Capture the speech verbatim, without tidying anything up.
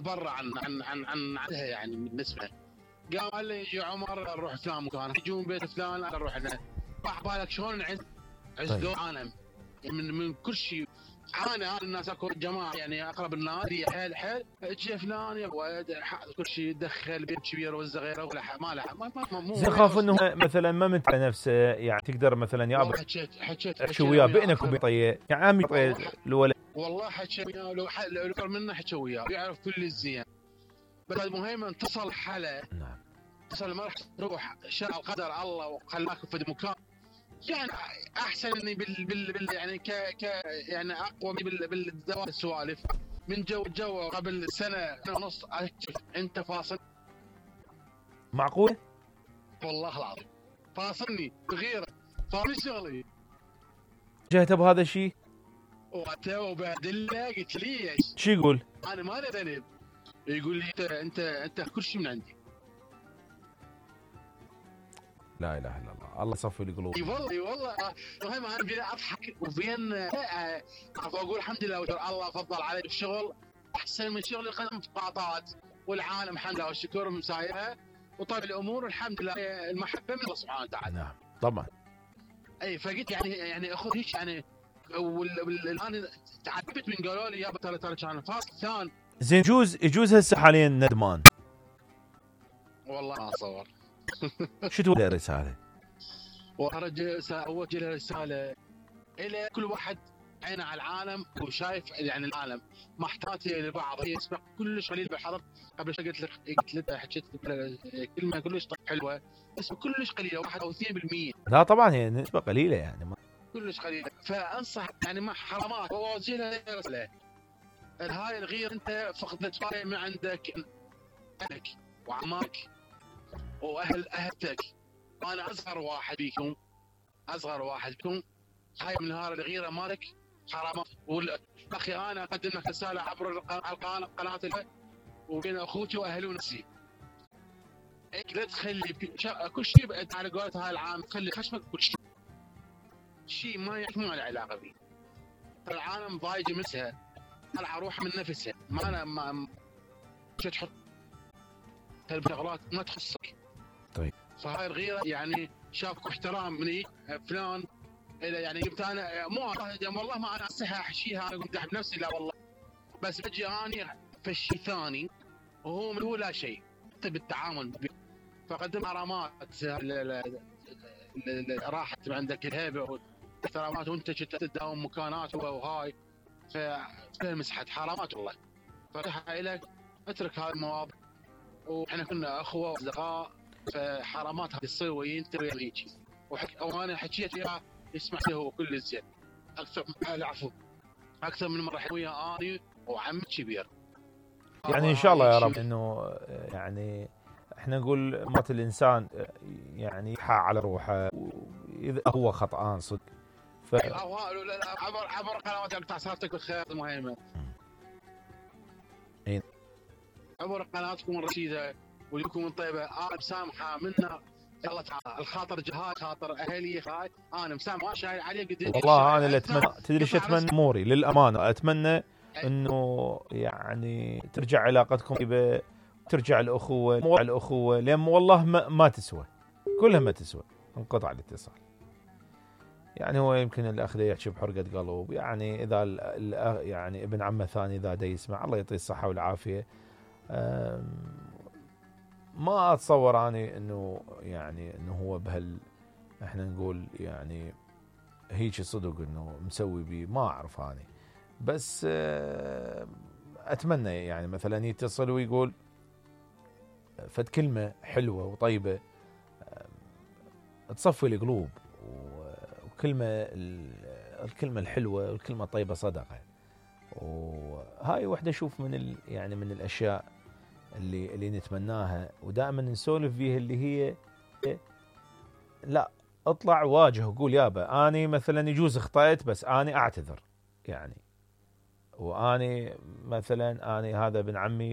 برا عن عن عن عن عنها يعني بالنسبه. قام قال لي يجي عمر نروح فلان مكان، يجون بيت فلان نروح هنا. راح بالك شلون عز عز طيب. دور عالم من من كل شيء. انا انا الناس اكو جماعه يعني اقرب الناس حيل حيل اجى فلان يا ولد كل شيء دخل بيت كبير والصغير ولا ما له ما ما مو زين خاف انه مثلا ما منت على نفسه يعني تقدر مثلا يا ابو حكيت حكيت احكي وياه بينك وبين طيه يعني عمي طيه الولد والله حكيت وياه لو لو اكبر منه حكي وياه يعرف كل الزين. بس المهم انتصل حلا. نعم. اتصل ما راح تروح شاء القدر الله وخلاك في مكان يعني احسن اني بال, بال, بال يعني ك ك يعني اقوى بال بالدوام السوالف من جو جو قبل سنه ونص. انت فاصل معقول والله العظيم فاصلني بغيره فاصل شغلي جهته بهذا الشيء واتو وبادله قلت ليش شو يقول انا ما له ذنب. يقول لي انت انت انت كل شيء من عندي. لا اله الا الله الله صفي القلوب. اي والله اي والله المهم انا بين اضحك وبين اقول الحمد لله الله فضل علي بالشغل احسن من شغلي قدم في قاطات والعالم الحمد لله والشكر مسايرها وطيب الامور والحمد لله المحبه من الله سبحانه وتعالى. نعم طبعا. اي فقلت يعني يعني اخذ هيك يعني والان تعبت من قالوا لي يا ترى ترى كان فاصل ثان. زين يجوز يجوز هسه حاليا ندمان والله ما اصور. شو تقول الرساله؟ وارجع اوجه رساله الى كل واحد عينه على العالم وشايف يعني العالم محتاج لبعض يسبق كلش قليل بالحضر. قبل شوي قلت لك قلت لك حكيت كلمه كلش حلوه بس كلش قليله واحد او اثنين بالمية. لا طبعا هي نسبه قليله يعني ما. كلش قليله فانصح يعني مع حرامات واوجه له رساله. هاي الغير انت فقدت شيء من عندك اهلك وعماك واهل اهلتك. انا اصغر واحد بيكم اصغر واحد بيكم. هاي من نهار الغيره مالك حرامات. اخي انا اقدم لك رساله عبر قناه وبين اخوتي واهلي ونفسي. لا تخلي كل شيء على قولة هاي العام تخلي خشمك كل شيء شيء ما ما له علاقه به. العالم ضايج مسها طلع روح من نفسها ما انا ما تحط شغلات ما تخصك. طيب فهاي الغيره يعني شافك احترام مني فلان يعني قلت انا مو والله ما انا استحي احشيها انا قلت احب نفسي لا والله بس بجي اني في الشيء ثاني وهو من هو لا شيء بالتعامل فقدم حرامات راحت عندك الهيبه واحترامات وانت تداوم مكانات وهاي فمسحت حرامات والله. فتحها لك اترك هذه المواضيع واحنا كنا اخوه واصدقاء فحرامات هذه تصير وانت ويا هيك وانا حكيت وياه يسمع له هو كل الزين اكثر العفو اكثر من مره ويا اني وعم كبير يعني ان شاء الله يا رب انه يعني احنا نقول مات الانسان يعني يحا على روحه اذا هو خطأان صدق ف عبر عبر قنواتك بتاع صارتك بالخير المهمه اي عبر قناتكم الرشيده ولكم طيبه انا مسامحه منا الله تعالى الخاطر جهاد خاطر اهلي هاي انا مسامح ما شايل عليه قد والله انا اللي اتمنى تدري ايش اتمنى اموري للامانه اتمنى انه يعني ترجع علاقتكم طيبه ترجع الاخوه مو الاخوه لان والله ما, ما تسوى كلها ما تسوى انقطع الاتصال. يعني هو يمكن الاخ ده يحكي بحرقه قلب يعني اذا يعني ابن عمه ثاني اذا دا يسمع الله يعطيه الصحه والعافيه. ما اتصور اني انه يعني انه هو بهال احنا نقول يعني هيك صدق انه مسوي بي ما اعرف اني بس اتمنى يعني مثلا يتصل ويقول فد كلمه حلوه وطيبه تصفي القلوب وكلمه الكلمه الحلوه والكلمه الطيبه صدقه. وهاي وحده اشوف من ال يعني من الاشياء اللي اللي نتمناها ودائما نسولف فيها اللي هي لا اطلع واجه وقول يابا اني مثلا يجوز اخطأت بس اني اعتذر يعني واني مثلا اني هذا ابن عمي